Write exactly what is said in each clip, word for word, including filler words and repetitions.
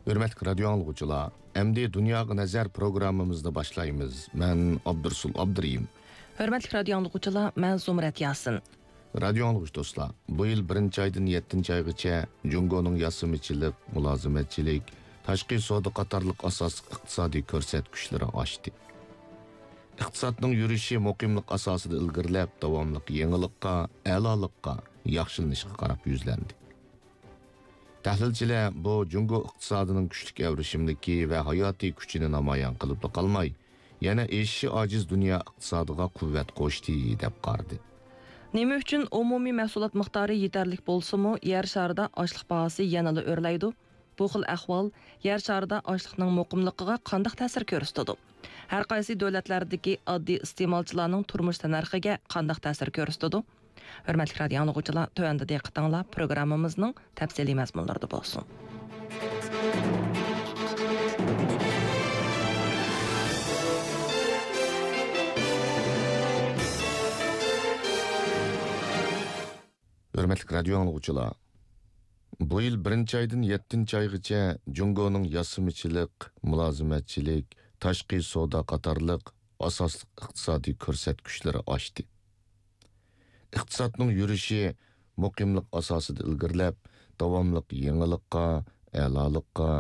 ھۆرمەتلىك رادىيو ئاڭلىغۇچىلار، ئەمدى دۇنياغا نەزەر پروگراممىمىزنى باشلايمىز. مەن ئابدۇرسۇل ئابدۇرېھىم. ھۆرمەتلىك رادىيو ئاڭلىغۇچىلار، مەن زۇمرەت ياسىن. رادىيو ئاڭلىغۇچى دوستلار، بۇ يىل بىرىنچى ئايدىن يەتتىنچى ئايغىچە جۇڭگونىڭ ياسىمىچىلىق، مۇلازىمەتچىلىك، تاشقى سودا قاتارلىق ئاساسلىق ئىقتىسادىي كۆرسەتكۈچلىرى ئاشتى. ئىقتىسادنىڭ يۈرۈشى مۇقىملىق ئاساسىدا ئىلگىرىلەپ، داۋاملىق يېڭىلىققا، ئەلالىققا، ياخشىلىنىشقا قاراپ يۈزلەندى. تەھلىلچىلەر بۇ جۇڭگو ئىقتىسادىنىڭ كۈچلۈك ئەۋرىشىملىكى ۋە ھاياتىي كۈچىنى نامايان قىلىپلا قالماي، يەنە ئېشىشى ئاجىز دۇنيا ئىقتىسادىغا قۇۋۋەت قوشتى، دەپ قارىدى. نېمە ئۈچۈن ئومۇمىي مەھسۇلات مىقدارى يېتەرلىك بولسىمۇ، يەر شارىدا ئاشلىق باھاسى يەنىلا ئۆرلەيدۇ؟ بۇ خىل ئەھۋال يەر شارىدا ئاشلىقنىڭ مۇقىملىقىغا قانداق تەسىر كۆرسىتىدۇ؟ ھەر قايسى دۆلەتلەردىكى ئاددىي ئىستېمالچىلارنىڭ تۇرمۇش تەننەرخىگە قانداق تەسىر كۆرسىتىدۇ؟ ھۆرمەتلىك رادىيو ئاڭلىغۇچىلار، تۆۋەندە دىققىتىڭلار پروگراممىمىزنىڭ تەپسىلىي مەزمۇنلىرىدا بولسۇن. ھۆرمەتلىك رادىيو ئاڭلىغۇچىلار، بۇ يىل بىرىنچى ئايدىن يەتتىنچى ئايغىچە جۇڭگونىڭ ياسىمىچىلىق، مۇلازىمەتچىلىك، تاشقى سودا قاتارلىق ئاساسلىق ئىقتىسادىي كۆرسەتكۈچلىرى ئاشتى. ئىقتىسادنىڭ يۈرۈشى مۇقىملىق ئاساسىدا ئىلگىرىلەپ، داۋاملىق يېڭىلىققا، ئەلالىققا،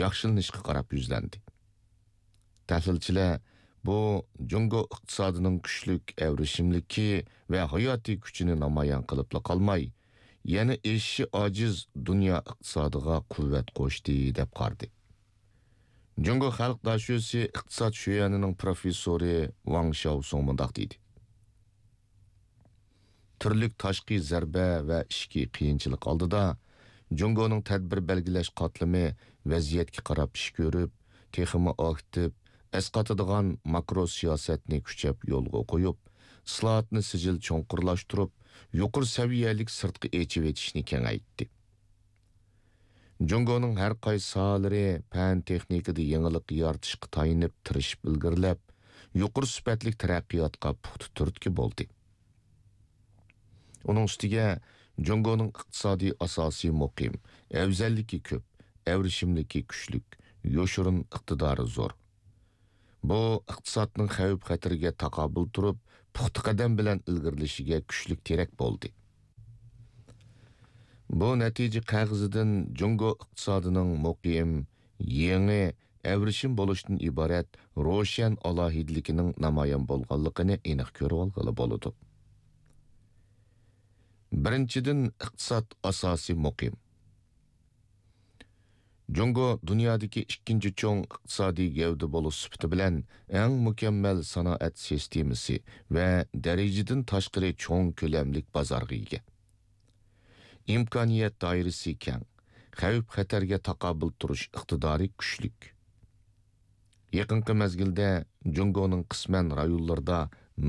ياخشىلىنىشقا قاراپ يۈزلەندى. تەھلىلچىلەر بۇ جۇڭگو ئىقتىسادىنىڭ كۈچلۈك ئەۋرىشىملىكى ۋە ھاياتىي كۈچىنى نامايان قىلىپلا قالماي، يەنە ئېشىشى ئاجىز دۇنيا ئىقتىسادىغا قۇۋۋەت قوشتى، دەپ قارىدى. جۇڭگو خەلق داشۆسى ئىقتىساد شۆيەنىنىڭ پروفېسسورى ۋاڭ شياۋسۇڭ مۇنداق دېدى: تۈرلۈك تاشقى زەربە ۋە ئىچكى قىيىنچىلىق ئالدىدا، جۇڭگونىڭ تەدبىر بەلگىلەش قاتلىمى ۋەزىيەتكە قاراپ ئىش كۆرۈپ، تېخىمۇ ئاكتىپ، ئەسقاتىدىغان ماكرو سىياسەتنى كۈچەپ يولغا قويۇپ، ئىسلاھاتنى سىجىل چوڭقۇرلاشتۇرۇپ، يۇقىرى سەۋىيەلىك سىرتقا ئېچىۋېتىشنى كېڭەيتتى. جۇڭگونىڭ ھەر قايسى ساھەلىرى پەن-تېخنىكىدا يېڭىلىق يارىتىشقا تايىنىپ تىرىشىپ ئىلگىرىلەپ، يۇقىرى سۈپەتلىك تەرەققىياتقا پۇختا تۈرتكە بولدى. ئۇنىڭ ئۈستىگە جۇڭگونىڭ ئىقتىسادىي ئاساسى مۇقىم، ئەۋزەللىكى كۆپ، ئەۋرىشىملىكى كۈچلۈك، يوشۇرۇن ئىقتىدارى زور. بۇ ئىقتىسادنىڭ خەۋپ-خەتىرىگە تاقابىل تۇرۇپ، پۇختا قەدەم بىلەن ئىلگىرىلىشىگە كۈچلۈك تىرەك بولدى. بۇ نەتىجە قەغىزىدىن جۇڭگو ئىقتىسادىنىڭ مۇقىم، يېڭى، ئەۋرىشىم بولۇشتىن ئىبارەت روشەن ئالاھىدىلىكىنىڭ نامايان بولغانلىقىنى ئېنىق كۆرۈۋالغىلى بولىدۇ. بىرىنچىدىن، ئىقتىساد ئاساسى مۇقىم. جۇڭگو دۇنيادىكى ئىككىنچى چوڭ ئىقتىسادىي گەۋدە بولۇش سۈپىتى بىلەن ئەڭ مۇكەممەل سانائەت سىستېمىسى ۋە دەرىجىدىن تاشقىرى چوڭ كۆلەملىك بازارغا ئىگە. ئىمكانىيەت دائىرىسى كەڭ، خەۋپ-خەتەرگە تاقابىل تۇرۇش ئىقتىدارى كۈچلۈك. يېقىنقى مەزگىلدە جۇڭگونىڭ قىسمەن رايونلىرىدا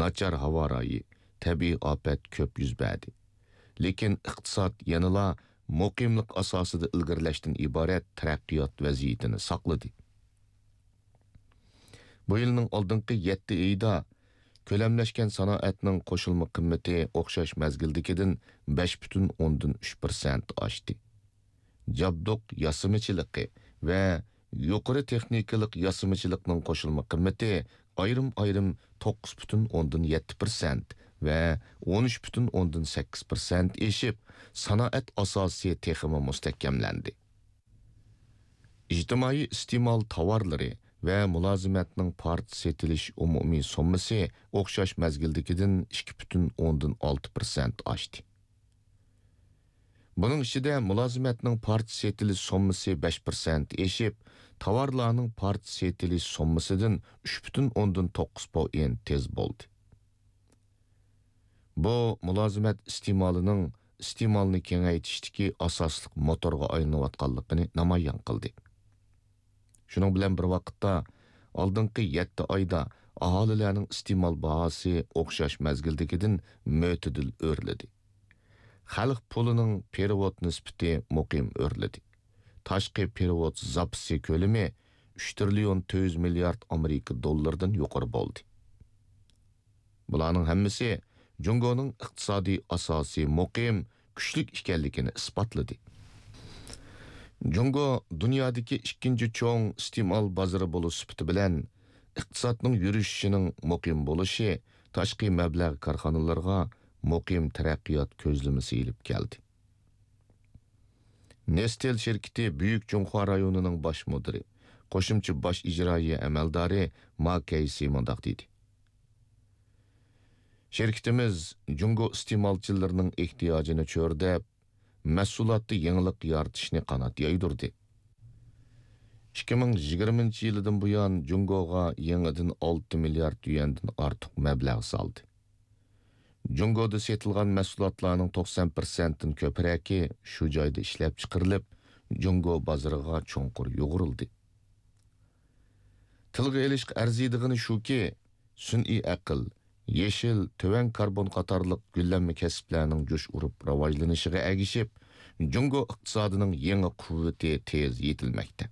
ناچار ھاۋا رايى، تەبىئىي ئاپەت كۆپ يۈز بەردى. لېكىن ئىقتىساد يەنىلا مۇقىملىق ئاساسىدا ئىلگىرىلەشتىن ئىبارەت تەرەققىيات ۋەزىيىتىنى ساقلىدى. بۇ يىلنىڭ ئالدىنقى يەتتە ئېيىدا كۆلەملەشكەن سانائەتنىڭ قوشۇلما قىممىتى ئوخشاش مەزگىلدىكىدىن بەش پۈتۈن ئوندىن ئۈچ پىرسەنت ئاشتى. جابدۇق ياسىمىچىلىقى ۋە يۇقىرى تېخنىكىلىق ياسىمىچىلىقنىڭ قوشۇلما قىممىتى ئايرىم-ئايرىم توققۇز پۈتۈن ئوندىن يەتتە پىرسەنت ۋە ئون ئۈچ پۈتۈن ئوندىن سەككىز پىرسەنت ئېشىپ، سانائەت ئاساسى تېخىمۇ مۇستەھكەملەندى. ئىجتىمائىي ئىستېمال تاۋارلىرى ۋە مۇلازىمەتنىڭ پارچە سېتىلىش ئومۇمىي سوممىسى ئوخشاش مەزگىلدىكىدىن ئىككى پۈتۈن ئوندىن ئالتە پىرسەنت ئاشتى. بۇنىڭ ئىچىدە مۇلازىمەتنىڭ پارچە سېتىلىش سوممىسى بەش پىرسەنت ئېشىپ، تاۋارلارنىڭ پارچە سېتىلىش سوممىسىدىن ئۈچ پۈتۈن ئوندىن توققۇز پوئېنت تېز بولدى. بۇ مۇلازىمەت ئىستېمالىنىڭ ئىستېمالنى كېڭەيتىشتىكى ئاساسلىق موتورغا ئايلىنىۋاتقانلىقىنى نامايان قىلدى. شۇنىڭ بىلەن بىر ۋاقىتتا، ئالدىنقى يەتتە ئايدا ئاھالىلەرنىڭ ئىستېمال باھاسى ئوخشاش مەزگىلدىكىدىن مۆتىدىل ئۆرلىدى. خەلق پۇلىنىڭ پېرېۋوت نىسبىتى مۇقىم ئۆرلىدى. تاشقى پېرېۋوت زاپىسى كۆلىمى ئۈچ تىرىليون تۆت يۈز مىليارد ئامېرىكا دوللىرىدىن يۇقىرى بولدى. بۇلارنىڭ ھەممىسى جۇڭگونىڭ ئىقتىسادىي ئاساسى مۇقىم، كۈچلۈك ئىكەنلىكىنى ئىسپاتلىدى. جۇڭگو دۇنيادىكى ئىككىنچى چوڭ ئىستېمال بازىرى بولۇش سۈپىتى بىلەن، ئىقتىسادنىڭ يۈرۈشۈشىنىڭ مۇقىم بولۇشى تاشقى مەبلەغ كارخانىلىرىغا مۇقىم تەرەققىيات كۆزلىمىسى ئېلىپ كەلدى. نېستېل شىركىتى بۈيۈك جۇڭخۇا رايونىنىڭ باش مۇدىرى، قوشۇمچە باش ئىجرائىيە ئەمەلدارى ما كەيسى مۇنداق دېدى: شىركىتىمىز جۇڭگو ئىستېمالچىلىرىنىڭ ئېھتىياجىنى چۆرىدەپ، مەھسۇلاتتا يېڭىلىق يارىتىشنى قانات يايدۇردى. ئىككى مىڭ يىگىرمىنچى يىلىدىن بۇيان، جۇڭگوغا يېڭىدىن ئالتە مىليارد يۈەندىن ئارتۇق مەبلەغ سالدى. جۇڭگودا سېتىلغان مەھسۇلاتلارنىڭ توقسان پىرسەنتتىن كۆپرەكى شۇ جايدا ئىشلەپچىقىرىلىپ، جۇڭگو بازىرىغا چوڭقۇر يۇغۇرۇلدى. تىلغا ئېلىشقا ئەرزىيدىغىنى شۇكى، سۈنئىي ئەقىل، يېشىل، تۆۋەن كاربون قاتارلىق گۈللەنمە كەسىپلەرنىڭ جۇش ئۇرۇپ راۋاجلىنىشىغا ئەگىشىپ، جۇڭگو ئىقتىسادىنىڭ يېڭى قۇۋۋىتى تېز يېتىلمەكتە.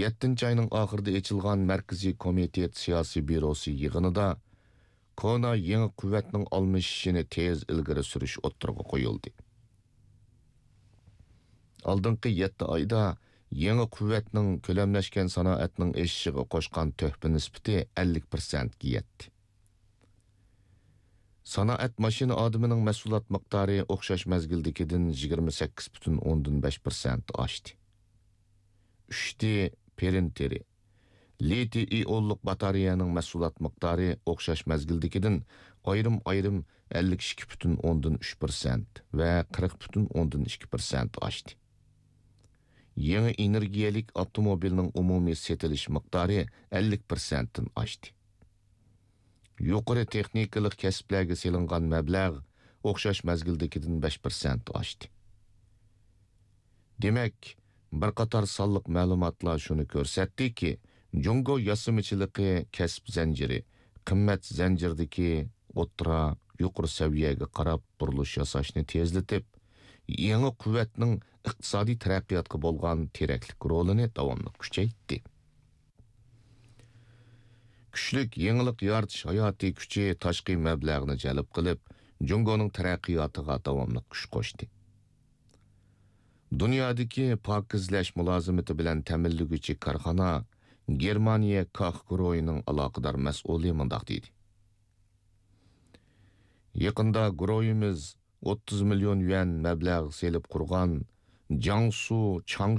يەتتىنچى ئاينىڭ ئاخىرىدا ئېچىلغان مەركىزىي كومىتېت سىياسىي بيۇروسى يىغىنىدا كونا يېڭى قۇۋۋەتنىڭ ئالمىشىشىنى تېز ئىلگىرى سۈرۈش ئوتتۇرىغا قويۇلدى. ئالدىنقى يەتتە ئايدا يېڭى قۇۋۋەتنىڭ كۆلەملەشكەن سانائەتنىڭ ئېشىشىغا قوشقان تۆھپە نىسبىتى ئەللىك پىرسەنتكە يەتتى. سانائەت ماشىنا ئادىمىنىڭ مەھسۇلات مىقدارى ئوخشاش مەزگىلدىكىدىن يىگىرمە سەككىز پۈتۈن ئوندىن بەش پىرسەنت ئاشتى. ئۈچتى پرىنتېرى. لىتىي ئىئونلۇق باتارېيەنىڭ مەھسۇلات مىقدارى ئوخشاش مەزگىلدىكىدىن ئايرىم-ئايرىم ئەللىك ئىككى پۈتۈن ئوندىن ئۈچ پىرسەنت ۋە قىرىق پۈتۈن ئوندىن ئىككى پىرسەنت ئاشتى. يېڭى ئېنېرگىيەلىك ئاپتوموبىلنىڭ ئومۇمىي سېتىلىش مىقدارى ئەللىك پىرسەنتتىن ئاشتى. يۇقىرى تېخنىكىلىق كەسىپلەرگە سېلىنغان مەبلەغ ئوخشاش مەزگىلدىكىدىن بەش پىرسەنت ئاشتى. دېمەك، بىر قاتار سانلىق مەلۇماتلار شۇنى كۆرسەتتىكى، جۇڭگو ياسىمىچىلىقى كەسىپ زەنجىرى، قىممەت زەنجىرىدىكى ئوتتۇرا، يۇقىرى سەۋىيەگە قاراپ بۇرۇلۇش ياساشنى تېزلىتىپ، يېڭى قۇۋۋەتنىڭ ئىقتىسادىي تەرەققىياتقا بولغان تىرەكلىك رولىنى داۋاملىق كۈچەيتتى. كۈچلۈك يېڭىلىق يارىتىش ھاياتىي كۈچى تاشقى مەبلەغنى جەلپ قىلىپ، جۇڭگونىڭ تەرەققىياتىغا داۋاملىق كۈچ قوشتى. دۇنيادىكى پاكىزلەش مۇلازىمىتى بىلەن تەمىنلىگۈچى كارخانا، گېرمانىيە كاخ گۇرۇھىنىڭ ئالاقىدار مەسئۇلى مۇنداق دېدى: يېقىندا گۇرۇھىمىز ئوتتۇز مىليون يۈەن مەبلەغ سېلىپ قۇرغان جياڭسۇ چاڭشۇ